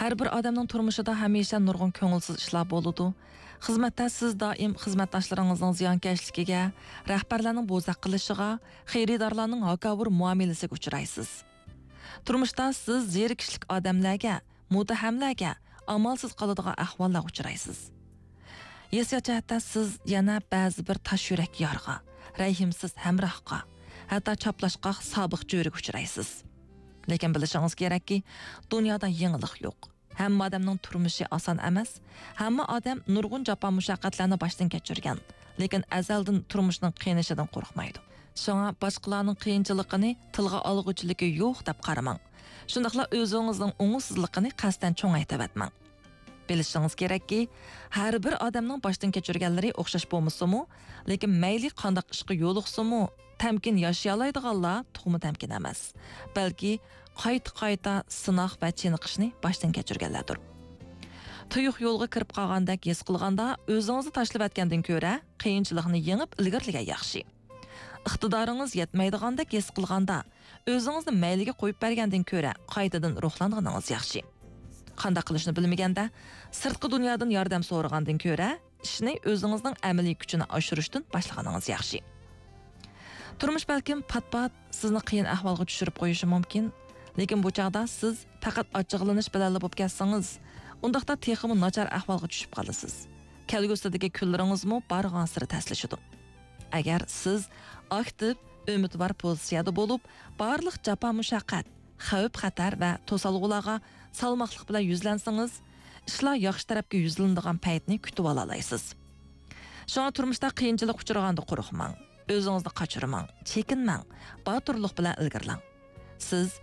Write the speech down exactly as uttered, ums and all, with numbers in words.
ھەر بىر ئادەمنىڭ تۇرمۇشىدا ھەمىشە نۇرغۇن كۆڭۈلسىز ئىشلار بولىدۇ. خىزمەتتە سىز دائىم خىزمەتداشلىرىڭىزنىڭ زىيانكەشلىكىگە، رەھبەرلەرنىڭ بوزەك قىلىشىغا، خېرىدارلارنىڭ ھاكاۋۇر مۇئامىلىسىگە ئۇچرايسىز. تۇرمۇشتا سىز زېرىكىشلىك ئادەملەرگە، مۇتتەھەملەرگە ئامالسىز قالىدىغان ئەھۋاللارغا ئۇچرايسىز. ھېسسىيات جەھەتتە سىز يەنە بەزى بىر تاش يۈرەك يارغا، رەھىمسىز ھەمراھقا، ھەتتا چاپلاشقاق سابىق جۆرىگە ئۇچرايسىز. لېكىن بىلىشىڭىز كېرەككى، دۇنيادا يېڭىلىق يوق. ھەممە ئادەمنىڭ تۇرمۇشى ئاسان ئەمەس. ھەممە ئادەم نۇرغۇن جاپا مۇشەققەتلەرنى باشتىن كەچۈرگەن، لېكىن ئەزەلدىن تۇرمۇشنىڭ قىينىشىدىن قورقمايدۇ. شۇڭا باشقىلارنىڭ قىيىنچىلىقىنى تىلغا ئالغۇچىلىكى يوق دەپ قارىماڭ. شۇنداقلا ئۆزىڭىزنىڭ ئوڭۇشسىزلىقىنى قەستەن چوڭايتىۋەتمەڭ. بىلىشىڭىز كېرەككى، ھەر بىر ئادەمنىڭ باشتىن كەچۈرگەنلىرى ئوخشاش بولمىسىمۇ، لېكىن مەيلى قانداق ئىشقا يولۇقسىمۇ، تەمكىن ياشىيالايدىغانلار تۇخۇمى تەمكىن ئەمەس، بەلكى قايتا-قايتا سىناق ۋە چېنىقىشنى باشتىن كەچۈرگەنلەردۇر. تۇيۇق يولغا كىرىپ قالغاندەك ھېس قىلغاندا، ئۆزىڭىزنى تاشلىۋەتكەندىن كۆرە، قىيىنچىلىقنى يېڭىپ ئىلگىرىلىگەن ياخشى. ئىقتىدارىڭىز يەتمەيدىغاندەك ھېس قىلغاندا، ئۆزىڭىزنى مەيلىگە قويۇپ بەرگەندىن كۆرە، قايتىدىن روھلانغىنىڭىز ياخشى. قانداق قىلىشنى بىلمىگەندە، سىرتقى دۇنيادىن ياردەم سورىغاندىن كۆرە، ئىشنى ئۆزىڭىزنىڭ ئەمەلىي كۈچىنى ئاشۇرۇشتىن باشلىغىنىڭىز ياخشى. تۇرمۇش بەلكىم پات-پات سىزنى قىيىن ئەھۋالغا چۈشۈرۈپ قويۇشى مۇمكىن، لېكىن بۇ چاغدا سىز پەقەت ئاچچىقلىنىش بىلەنلا بولۇپ كەتسىڭىز، ئۇنداقتا تېخىمۇ ناچار ئەھۋالغا چۈشۈپ قالىسىز. كەلگۈسىدىكى كۈنلىرىڭىزمۇ بارغانسېرى تەسلىشىدۇ. ئەگەر سىز ئاكتىپ، ئۈمىدۋار پوزىتسىيەدە بولۇپ، بارلىق جاپا-مۇشەققەت، خەۋپ-خەتەر ۋە توسالغۇلارغا سالماقلىق بىلەن يۈزلەنسىڭىز، ئىشلار ياخشى تەرەپكە يۈزلىنىدىغان پەيتنى كۈتۈۋالالايسىز. شۇڭا تۇرمۇشتا قىيىنچىلىققا ئۇچرىغاندا قورقماڭ، ئۆزىڭىزنى قاچۇرماڭ، چېكىنمەڭ، باتۇرلۇق بىلەن ئىلگىرىلەڭ. سىز